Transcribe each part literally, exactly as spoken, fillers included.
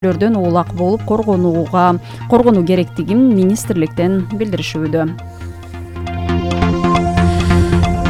лөрдөн оолак болуп коргонууга коргонуу керектигин министрликтен билдиришүүдө.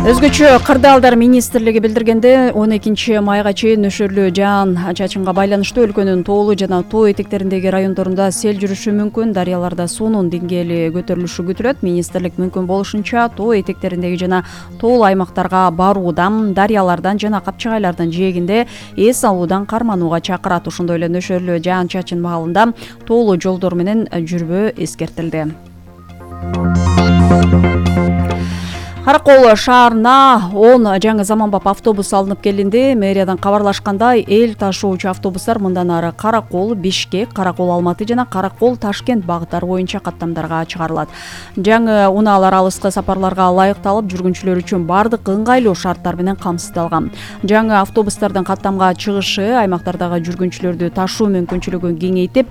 Өзгөчө кырдаалдар министрлиги билдиргенде он экинчи майга чейин нөшөрлүү жаан чачынга байланыштуу өлкөнүн тоолуу жана тоо этектериндеги райондорунда сел жүрүшү мүмкүн. Дарыяларда суунун деңгээли көтөрүлүшү күтүлөт. Министрлик мүмкүн болушунча тоо этектериндеги жана тоолуу аймактарга баруудан, дарыялардан жана капчыгайлардын жээгинде эс алуудан карманууга чакырат. Ошондой эле нөшөрлүү жаан чачын маалында тоолуу жолдор менен жүрбөө эскертилди. Каракол шаарына он жаңы заманбап автобус алынып келинди. Мэриядан кабарлашкандай, эл ташуучу автобустар мындан ары Каракол, Бишкек, Каракол, Алматы жана Каракол, Ташкент багыттары боюнча каттамдарга чыгарылат. Жаңы унаалар алыскы сапарларга ылайыкталып, жүргүнчүлөр үчүн бардык ыңгайлуу шарттар менен камсыздалган. Жаңы автобустардын каттамга чыгышы аймактардагы жүргүнчүлөрдү ташуу мүмкүнчүлүгүн кеңейтип,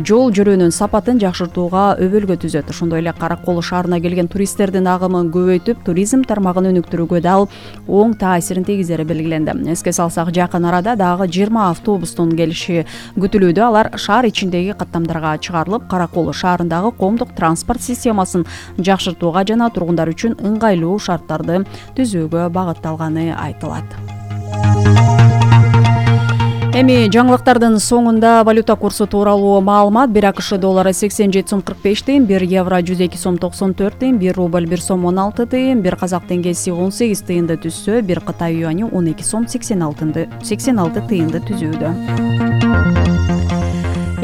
жол жүрөөнүн сапатын жакшыртууга өбөлгө түзөт. Ошондой эле Каракол шаарына келген туристтердин агымын көбөйтүп, туризм тармагын өнүктүрүүгө дал оң таасирин тийгизери белгиленди. Эске салсак, жакын арада дагы жыйырма автобустун келиши күтүлүүдө. Алар шаар ичиндеги каттамдарга чыгарылып, Каракол шаарындагы коомдук транспорт системасын жакшыртууга жана тургундар үчүн ыңгайлуу шарттарды түзүүгө багытталганы айтылат. Эми жаңылыктардын соңунда валюта курсу тууралуу маалымат. Бир АКШ доллары сексен жети сом кырк беш тыйын, бир евро жүз эки сом токсон төрт тыйын, бир рубль бир сом он алты тыйын, бир казак теңгеси он сегиз тыйынды түзсө, бир Кытай юани он эки сом сексен алты тыйынды түзүүдө.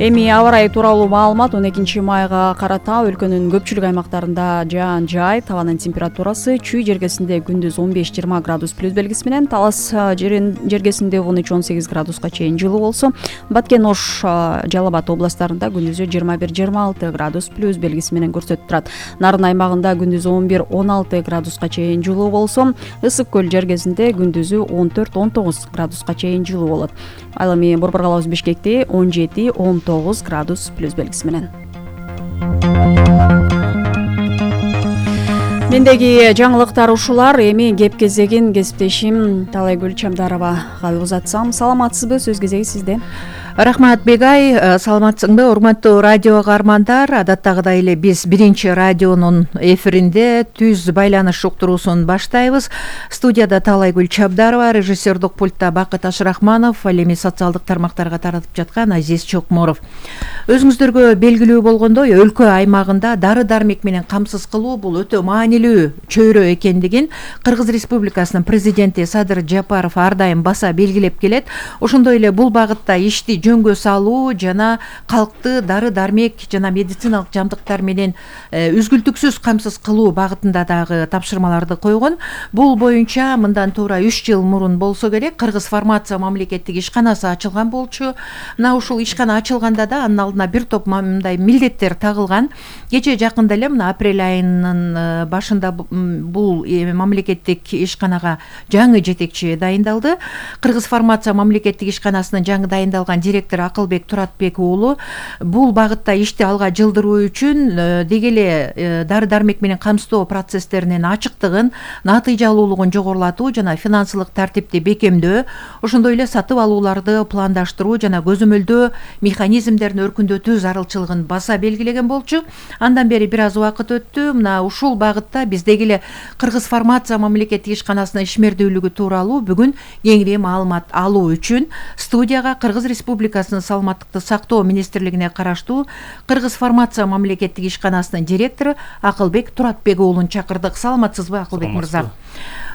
Эми аба ырайы тууралуу маалымат. он экинчи майга карата өлкөнүн көпчүлүк аймактарында жаан жай, табанын температурасы Чүй жергесинде күндүз он беш жыйырма градус плюс белгиси менен, Талас жергесинде он үч он сегиз градуска чейин жылуу болсо, Баткен, Ош, Жалал Абад областарында күндүзү жыйырма бир жыйырма алты градус плюс белгиси менен көрсөтүп турат. Нарын аймагында күндүзү он бир он алты градуска чейин жылуу болсо, Ысык көл жергесинде күндүзү он төрт он тогуз градуска чейин жылуу болот. Ал эми Борбор калабыз Бишкекте он жети он тогуз градус плюс белгиси менен. Мендеги жаңылыктар ушулар. Эми кеп кезегин кесиптешим Талайгүл Чамдаровага узатсам. Саламатсызбы? Сөз кезеги сизде. Рахмат Бегай, саламатсыңбы? Урматтуу радио каармандар, адаттагыдай эле биз биринчи радионун эфиринде түз байланыш уктуруусун баштайбыз. Студияда Талайгүл Чабдарова, режиссердук пультта Бакыт Ашрахманов, ал эми социалдык тармактарга таратып жаткан Азиз Чокморов. Өзүңүздөргө белгилүү болгондой, өлкө аймагында дары-дармек менен камсыз кылуу бул өтө маанилүү чөйрө экендигин Кыргыз Республикасынын президенти Садыр Жапаров ар дайым баса белгилеп келет. Ошондой эле бул багытта ишти жөнгө салуу жана калкты дары-дармек жана медициналык жабдыктар менен үзгүлтүксүз камсыз кылуу багытында дагы тапшырмаларды койгон. Бул боюнча мындан туура үч жыл мурун болсо керек Кыргыз фармация мамлекеттик ишканасы ачылган болчу. Мына ушул ишкана ачылганда да анын алдына бир топ мындай милдеттер тагылган. Кече жакында эле мына апрель айынын башында бул мамлекеттик ишканага жаңы жетекчи дайындалды. Кыргыз фармация мамлекеттик ишканасынын жаңы дайындалган директор Акылбек Туратбек уулу бул багытта ишти алга жылдыруу үчүн деги эле дары-дармек менен камсыздоо процесстеринин ачыктыгын, натыйжалуулугун жогорулатуу жана финансылык тартипти бекемдөө, ошондой эле сатып алууларды пландаштыруу жана көзөмөлдөө механизмдерин өркүндөтүү зарылчылыгын баса белгилеген болчу. Андан бери бир аз убакыт өттү. Мына ушул багытта биз деги эле Кыргыз фармация мамлекеттик ишканасынын ишмердүүлүгү тууралуу бүгүн кеңири маалымат алуу үчүн студияга Кыргыз Республикасынын саламаттыкты сактоо министрлигине караштуу Кыргыз фармация мамлекеттик ишканасынын директору Акылбек Туратбек уулун чакырдык. Саламатсызбы, Акылбек мырза?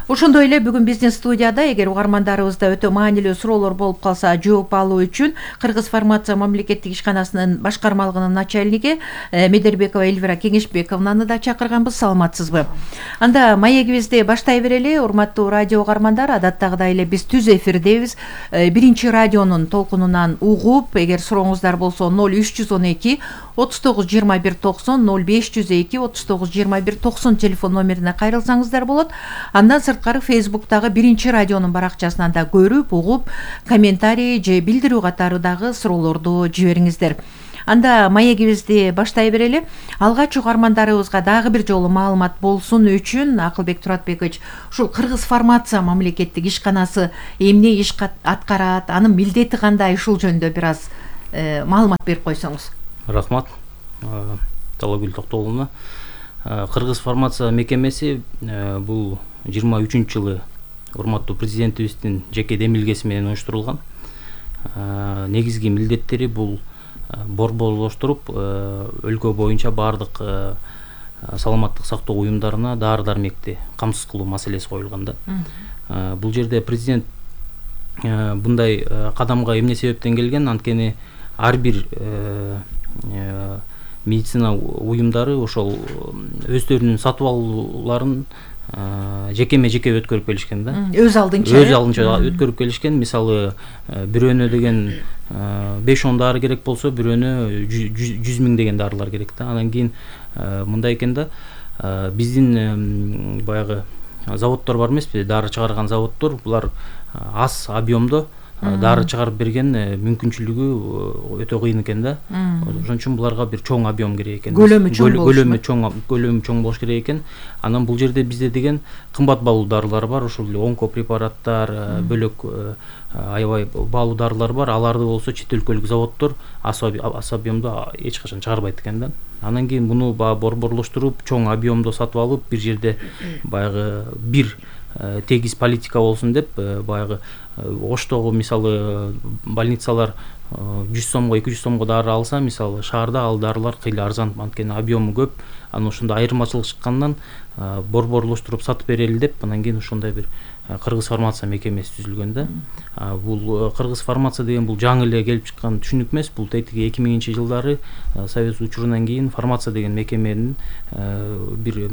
Ошондой эле бүгүн биздин студияда эгер угармандарыбызда өтө маанилүү суроолор болуп калса жооп алуу үчүн Кыргыз фармация мамлекеттик ишканасынын башкармалыгынын начальниги Медербекова Эльвира Кеңешбековнаны да чакырганбыз. Саламатсызбы? Анда маегибизди баштай берели. Урматтуу радио угармандар, адаттагыдай эле биз түз эфирдебиз. Биринчи радионун толкунунан угуп, эгер сурооңуздар болсо ноль үч жүз он эки отуз тогуз жыйырма бир токсон, ноль беш жүз эки отуз тогуз жыйырма бир токсон телефон номерине кайрылсаңыздар болот. Андан сырткары Фейсбуктагы биринчи радионун баракчасынан да көрүп, угуп, комментарий же билдирүү катары дагы суроолорду жибериңиздер. Анда маегибизди баштай берели. Алгач угармандарыбызга дагы бир жолу маалымат болсун үчүн Акылбек Туратбекович, ушул Кыргыз фармация мамлекеттик ишканасы эмне иш аткарат, анын милдети кандай, ушул жөнүндө бир аз маалымат берип койсоңуз. Рахмат Талайгүл Токтогуловна. Кыргыз фармация мекемеси бул жыйырма үчүнчү жылы урматтуу президентибиздин жеке демилгеси менен уюштурулган. Негизги милдеттери бул борборлоштуруп өлкө боюнча баардык саламаттык сактоо уюмдарына дары дармекти камсыз кылуу маселеси коюлган да. Бул жерде президент мындай кадамга эмне себептен келген? Анткени ар бир медицина уюмдары ошол өздөрүнүн сатып алууларын жекеме жеке өткөрүп келишкен да. Өз алдынча. Өз алдынча өткөрүп келишкен. Мисалы бирөөнө деген беш он дары керек болсо, бирөөнө жүз миң деген дарылар керек да. Анан кийин мындай экен да, биздин баягы заводдор бар эмеспи, дары чыгарган заводдор, булар аз объемдо дары чыгарып берген мүмкүнчүлүгү өтө кыйын экен да. Ошон үчүн буларга бир чоң объем керек экен. Көлөмү чоң болуш. Көлөмү чоң, көлөмү чоң болуш керек экен. Анан бул жерде бизде деген кымбат баалуу дарылар бар, ошол эле онкопрепараттар, бөлөк аябай баалуу дарылар бар. Аларды болсо чет өлкөлүк заводдор аз объемдо эч качан чыгарбайт экен да. Анан кийин муну баягы борборлоштуруп, чоң объемдо сатып алып, бир жерде баягы бир тегиз политика болсун деп, баягы Оштогу мисалы больницалар жүз сомго, эки жүз сомго дары алса, мисалы шаарда ал дарылар кыйла арзан, анткени объему көп. Анан ошондо айырмачылык чыккандан борборлоштуруп сатып берели деп, анан кийин ошондой бир Кыргыз фармация мекемеси түзүлгөн да. Бул Кыргыз фармация деген бул жаңы эле келип чыккан түшүнүк эмес. Бул тетиги эки миңинчи жылдары Совет учурунан кийин фармация деген мекеменин бир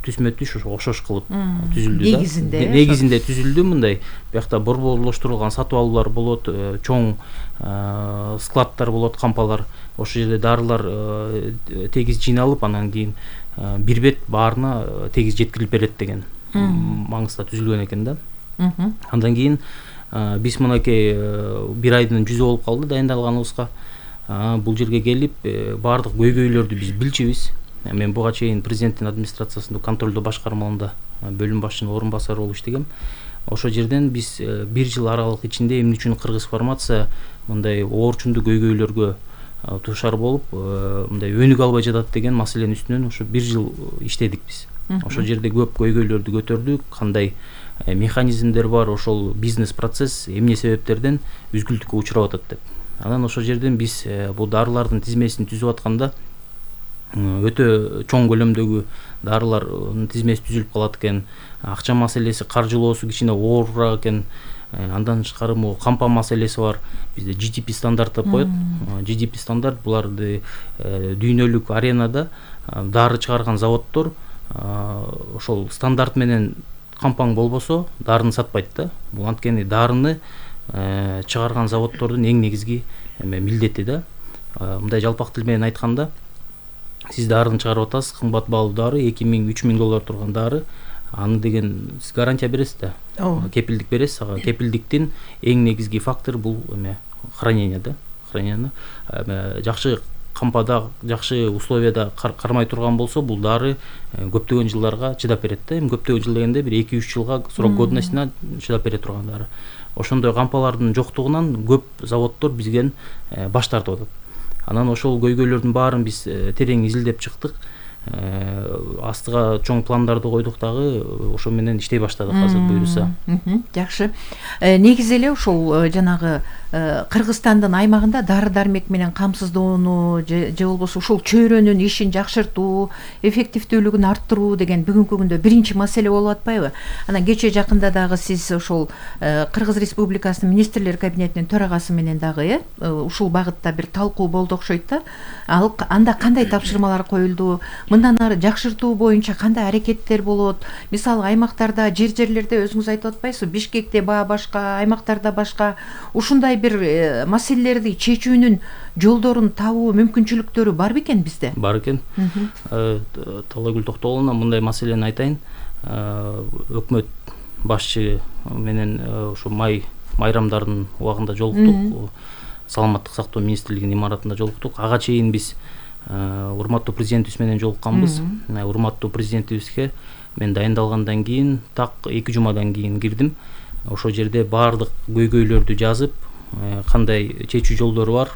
түзмө түш окшош кылып түзүлдү да. Негизинде негизинде түзүлдү мындай. Биякта борборлоштурулган сатып алуулар болот, чоң складтар болот, кампалар. Ошол жерде дарылар тегиз жыйналып, анан кийин бир бет баарына тегиз жеткирилип берет деген маңызда түзүлгөн экен да. Андан кийин биз мынакей бир айдын жүзү болуп калды дайындалганыбызга. Бул жерге келип баардык көйгөйлөрдү биз билчүбүз. Мен буга чейин президенттин администрациясында контролдоо башкармаларында бөлүм башчынын орун басары болуп иштегем. Ошол жерден биз бир жыл аралык ичинде эмне үчүн Кыргыз фармация мындай оорчундуу көйгөйлөргө дуушар болуп, мындай өнүк албай жатат деген маселенин үстүнөн ошо бир жыл иштедик биз. Ошол жерде көп көйгөйлөрдү көтөрдүк, кандай механизмдер бар, ошол бизнес процесс эмне себептерден үзгүлтүккө учурап атат деп. Анан ошол жерден биз бул дарылардын тизмесин түзүп атканда өтө чоң көлөмдөгү дарылардын тизмеси түзүлүп калат экен. Акча маселеси, каржылоосу кичине оорураак экен. Андан тышкары могу кампа маселеси бар. Бизде джи ди пи стандарт деп коет. джи ди пи стандарт буларды дүйнөлүк аренада дары чыгарган заводдор ошол стандарт менен кампаң болбосо дарыны сатпайт да. Бул анткени дарыны чыгарган заводдордун эң негизги милдети да. Мындай жалпак тил менен айтканда, сиз дарыны чыгарып атасыз, кымбат баалуу дары, эки миң үч миң доллар турган дары, аны деген сиз гарантия бересиз да. Кепилдик бересиз ага. Кепилдиктин эң негизги фактор бул эме хранение да. Хранение жакшы кампада, жакшы условияда кармай турган болсо, бул дары көптөгөн жылдарга чыдап берет да. Эми көптөгөн жыл дегенде бир эки үч жылга срок годностьуна чыдап бере турган дары. Ошондой кампалардын жоктугунан көп заводдор бизден баш тартып атат. Анан ошол көйгөйлөрдүн баарын биз терең изилдеп чыктык. Астыга чоң пландарды койдук дагы, ошо менен иштей баштадык азыр буюрса. Жакшы. Негизи эле ушул жанагы Кыргызстандын аймагында дары дармек менен камсыздоону же болбосо ушул чөйрөнүн ишин жакшыртуу, эффективдүүлүгүн арттыруу деген бүгүнкү күндө биринчи маселе болуп атпайбы? Анан кече жакында дагы сиз ошол Кыргыз Республикасынын министрлер кабинетинин төрагасы менен дагы ушул багытта бир талкуу болду окшойт да. Ал анда кандай тапшырмалар коюлду? Мындан ары жакшыртуу боюнча кандай аракеттер болот? Мисалы аймактарда, жер-жерлерде өзүңүз айтып атпайсызбы? Бишкекте баа башка, аймактарда башка. Ушундай бир маселелерди чечүүнүн жолдорун табуу мүмкүнчүлүктөрү бар бекен бизде? Бар экен. Талайгүл Токтогуловна, мындай маселени айтайын. Өкмөт башчы менен ошо май майрамдардын убагында жолуктук. Саламаттык сактоо министрлигинин имаратында жолуктук. Ага чейин биз урматтуу президентибиз менен жолукканбыз. Урматтуу президентибизге мен дайындалгандан кийин так эки жумадан кийин кирдим. Ошол жерде баардык көйгөйлөрдү жазып, кандай чечүү жолдору бар